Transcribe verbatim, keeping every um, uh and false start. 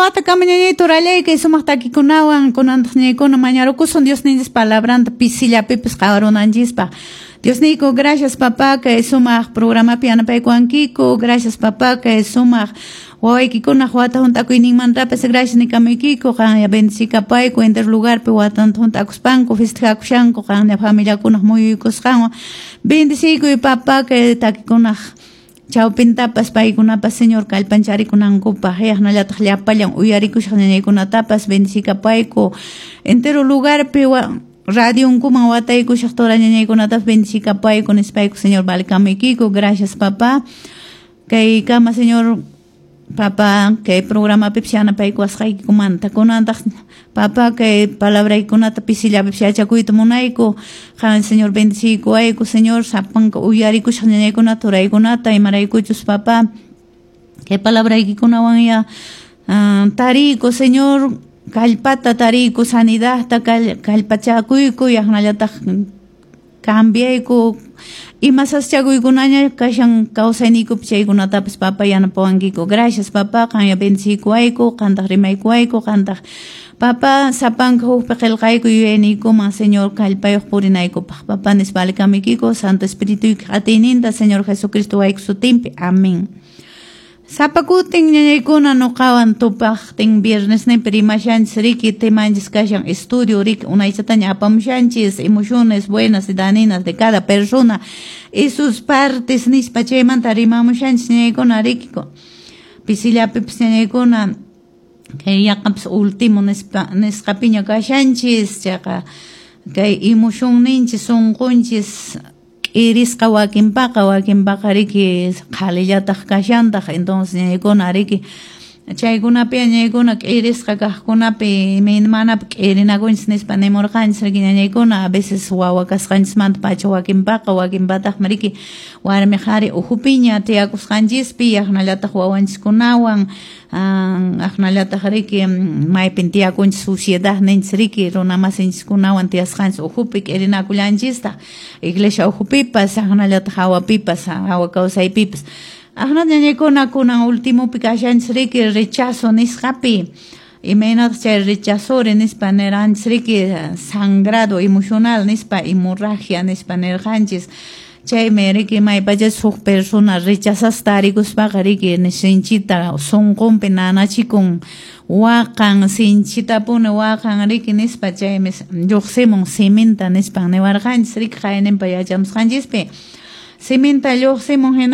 Wata kama ñañay turallay kay sumaq takikunawan kunantaq ñañaykuna mañarukusun Diosninchis palabranta pisillapipis qhawarunanchispaq. Diosniyku, gracias, papá, kay sumaq programapi yanapaykuwankiku. Gracias, papá, kay sumaq wawaykikunaq wata hunt'akuyninmantapas gracias nikamaykiku. Qanya bendicikapayku entero lugarpi watanta hunt'akuspanku festejakushanku qanya familiakunaq muyuykusqanwan. Bendiciykuy, papá, kay takikunaq chawpintapas paykunapas, Señor, kallpancharikunankupaq. Yaqnallataq llapallan uyarikushaq ñañaykunatapas bendicikapayku. Entero lugarpi wa radionkuman wataykushaq tora ñañaykunatapas bendicikapayku nispayku, Señor, valkamuykiku. Gracias, papá, kay kama, Señor, papá, kay programapipas yanapaykuwasqaykikumanta. Kunantaq, papá, kay palabraykunata pisillapipis yachakuyta munayku. Qan, Señor, bendiciykuwayku, Señor, sapanka uyarikushaq ñañaykunata, turaykunata, imaraykuchus, papá, kay palabraykikunawan ya uh, tariyku, Señor, kallpata tariyku, sanidadta, kallpachakuyku, yaqnallataq cambiayku ima sasachakuykunaña kashan kawsayniykupi chaykunatapas, papá, yanapawankiku. Gracias, papá, qanya bendiciykuwayku, qantaq rimaykuwayku, qantaq, papá, sapanka hukpi qillqayku yuyayniykuman, Señor, kallpayuq purinaykupaq, papá, nispa alikamuykiku Santo Espirituykiq atiyninta, Señor Jesucristo wayku sutinpi. Amén. Sapa kutin ñañaykuna nuqawan tupaqtin viernesninpi rimashanchis riki, temanchis kashan estudio riki, unaychataña apamushanchis emociones buenas y dañinas de cada persona y sus partes nispa, chaymanta rimamushanchis, ñañaykuna, riki. Pisillapipis, ñañaykuna, kay yaqapas último nispa nisqapiña kashanchis. Chayqa kay emocionninchis, sunqunchis k'irisqa wakinpaqa, wakinpaqa riki qhalillataq kashantaq. Entonces, ñañaykuna, riki, chaykunapi, ñañaykuna, k'irisqa kaqkunapi imaymanapi k'irinakunchis nispa nimurqanchis riki, ñañaykuna. A veces wawa kasqanchismanta pacha wakinpaqa, wakinpataqmi riki warmi qhari ukhupiña tiyakusqanchispi, yaqnallataq wawanchiskunawan, aqnallataq riki maypin tiyakunchis, sociedad ninchis riki, runa masinchiskunawan tiyasqanchis ukhupi k'irinakullanchistaq, iglesia ukhupipas, aqnallataq hawapipas, hawa kawsaypipas. Aqna, ñañaykuna, kunan ultimopi kashanchis riki, rechazo nisqapi. Imaynataq chay rechazore nispa nirqanchis riki, sangrado emocional nispa, hemorragia nispa nirqanchis. Chaymi riki maypachachus huk persona rechazasqa tarikuspaqa riki sinchita sunqunpi nanachikun, waqan, sinchitapuni waqan riki nispa. Chaymi lluqsimun siminta nispan niwarqanchis riki qayninpa yachamusqanchispi, siminta lluqsimun hina.